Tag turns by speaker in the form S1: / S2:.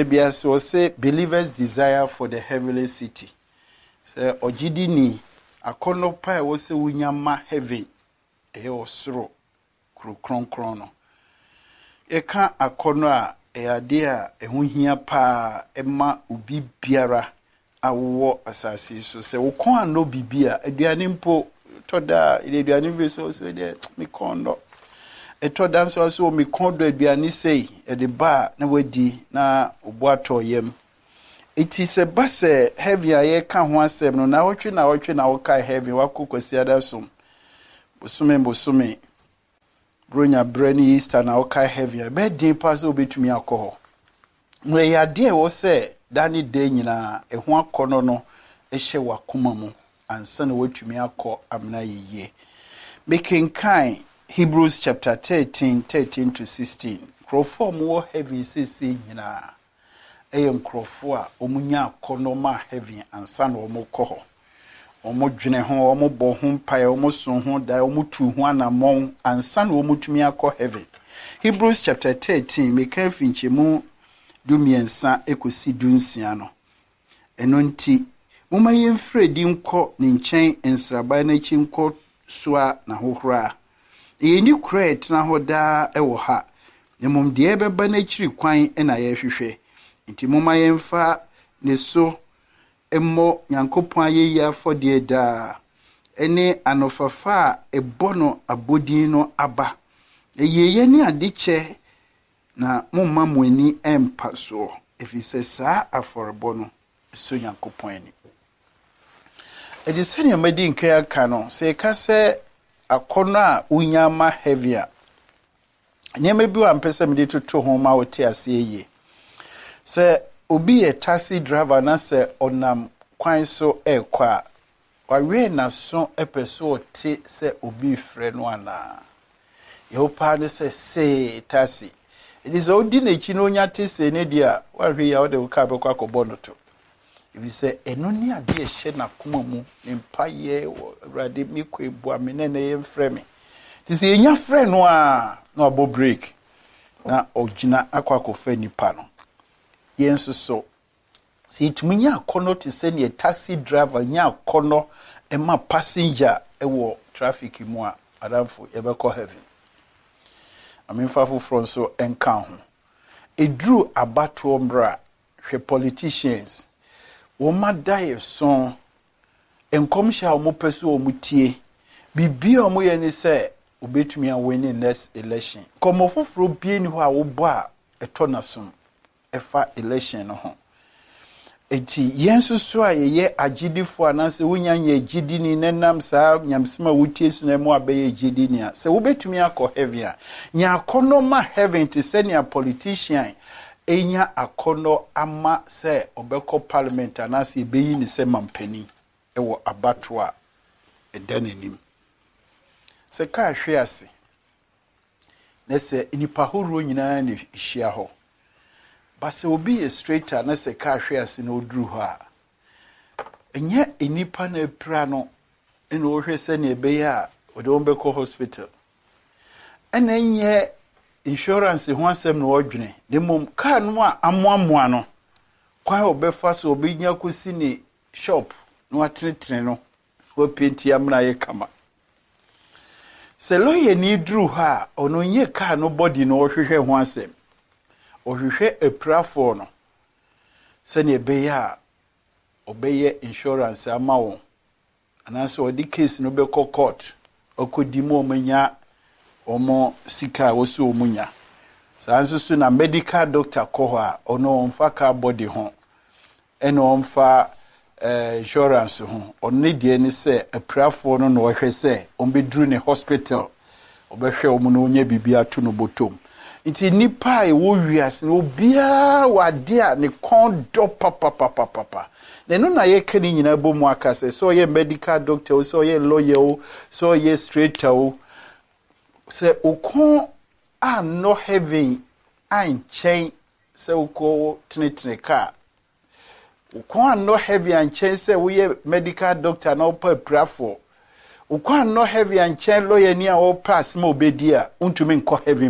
S1: Ebiase wɔsɛ believers desire for the heavenly city. Sɛ ɔgyidini akɔnnɔ pa a ɛwɔ sɛ wonya ma heaven, ɛyɛ ɔsoro kuro kronkron no. Yɛka akɔnnɔ a, ɛyɛ adeɛ a ɛho hia paa ɛma obi biara a wowɔ asase yi so. Sɛ wo kɔn annɔ biribi a, aduane mpo, ɛtɔ da a, yɛde aduane bi so sɛ deɛ me kɔn dɔ. Ɛtɔ da nso a so me kɔn dɔ aduane sei, yɛde ba a na wadi na obo atɔ yam. Eti sɛ ba sɛ heaven a yɛka ho asɛm no, naawɔtwe naawɔtwe na wokae heaven, wakɔ Kwasiada som, bosome bosome, Buronya berɛ ne Easter na wokae heaven a, ɛbɛyɛ den paa sɛ wobɛtumi akɔ hɔ. Na ɛyɛ adeɛ a ɛwɔ sɛ da ne da nyinaa ɛho akɔnnɔ no hyɛ w'akoma mu ansa na woatumi akɔ amena yie. Mekenkan Hebrews chapter 13, 13 to 16. Nkurɔfoɔ a wɔwɔ heaven seesei nyinaa ɛyɛ nkurɔfoɔ a wɔnya akɔnnɔ ma heaven ansa na wɔkɔ hɔ. Wɔdwene ho, wɔbɔ ho mpaeɛ, wɔso ho dae, wɔtu ho anammɔn ansa na wɔtumi akɔ heaven. Hebrews chapter 13, meka afi nkyɛmu 13 kɔsi 16 no. Ɛno nti, momma yɛmfiri adi nkɔ ne nkyɛn nsraban no akyi nkɔ soa n'ahohora. Yɛnni kuro a ɛtena hɔ daa wɔ ha, na mmom deɛ ɛbɛba n'akyiri kwan na yɛrehwehwɛ. Nti momma yɛmfa ne so mmɔ Nyankopɔn ayɛyie afɔdeɛ daa, ne anofafa a ɛbɔ no abɔdin no aba. Ayieyɛ ne adekyɛ na momma mo ani mpa soɔ, ɛfiri sɛ saa afɔrebɔ no ɛsɔ Nyankopɔn ani. Ɛde sɛnea madi nkan aka no, sɛ yɛka sɛ akɔnnɔ a wonya ma heaven a, nneɛma bi wɔ a mpɛ sɛ mede toto ho ma wote aseɛ yie. Sɛ obi yɛ taxi driver na sɛ ɔnam kwan so ɛrekɔ a, wawee n'aso pɛ so ɔte sɛ obi refrɛ no anaa. Yɛwɔ paa ne sɛ see taxi. Ɛti sɛ wodi n'akyi na onya te see ne deɛ a, woahwɛ yi a wode wo kaa bɛkɔ akɔbɔ no to. Ɛfiri sɛ ɛno ne adeɛ a ɛhyɛ n'akoma mu, ne mpayɛ wɔ Awurade mekɔ ebua me na ɛnɛ yɛmfrɛ me. Nti sɛ yɛnya frɛ no a, na wabɔ break na ɔgyina akɔ akɔfa nipa no. Yɛn nso so, sɛ yɛtumi nya akɔnnɔ te sɛ neɛ taxi driver nya akɔnnɔ ma passenger wɔ traffic mu a, adamfo, yɛbɛkɔ heaven. Amemfa foforɔ nso nka ho. Ɛduru abatoɔ mmerɛ a, hwɛ politicians, wɔn ada yɛ so, nkɔmhyɛ a wɔpɛ so wɔn tie, biribi a wɔyɛ ne sɛ wɔbɛtumi awin next election. Nkɔmmɔ foforɔ bie ni hɔ a wɔbɔ a ɛtɔ n'asom ɛfa election no ho. Eti yɛn nso so a yɛyɛ agyidifoɔ anaasɛ wonya nyɛ gyidini na nam saa nyamesɛm a wotie so na mu abɛyɛ gyidini a, sɛ wobɛtumi akɔ heaven a, nya akɔnnɔ ma heaven te sɛ nea politician enya akɔnnɔ ama sɛ ɔbɛkɔ parliament anaasɛ yɛbɛyi ne sɛ mampanin ɛwɔ abatoɔ a ɛda n'anim. Sɛ kaa hwe ase na sɛ nnipa ahoroɔ nyinaa na ɛhyia hɔ, ba sɛ obi yɛ straight a na sɛ kaa hwe ase na ɔduru hɔ a, ɛnyɛ nnipa na apira no ɛna ɔhwɛ sɛnea ɛbɛyɛ a ɔde wɔn bɛkɔ hospital. Ɛna ɛnyɛ insurance ho asɛm na ɔdwene, na mmom kaa no a amoamoa no, kwan a ɔbɛfa so ɔbɛnya kɔsi ne shop na watenetene no, wapaint amena ayɛ kama. Sɛ lawyer ni duru hɔ a, ɔno nyɛ kaa no body na ɔhwehwɛ ho asɛm. Ɔhwehwɛ apirafoɔ no sɛnea ɛbɛyɛ a ɔbɛyɛ insurance ama wɔn anaasɛ ɔde case no bɛkɔ court ɔkɔdi mu wɔn anya wɔn sika a wɔsi wɔn nya. Saa nso so na medical doctor kɔ hɔ a, ɔno ɔmfa car body ho ɛna ɔmfa insurance ho. Ɔno ne deɛ ne sɛ apirafoɔ no na ɔhwɛ sɛ ɔmbɛduru ne hospital, ɔbɛhwɛ wɔn na ɔnya biribi ato no bɔtɔm. Nti nipa a ɛwɔ wiase no, obiara wɔ adeɛ a ne kɔn dɔ papapapapa. Na ɛno na yɛka ne nyinaa bɔ mu aka sɛ ɔyɛ medical doctor o, sɛ ɔyɛ lawyer o, sɛ ɔyɛ straighter o, sɛ okɔn annɔ heaven ankyɛn sɛ wokɔ tenetene kaa, wokɔn annɔ heaven ankyɛn sɛ woyɛ medical doctor na wopɛ apirafoɔ, wokɔn annɔ heaven ankyɛn lawyer ni a wɔpɛ asɛm a obɛdi a, wontumi nkɔ heaven.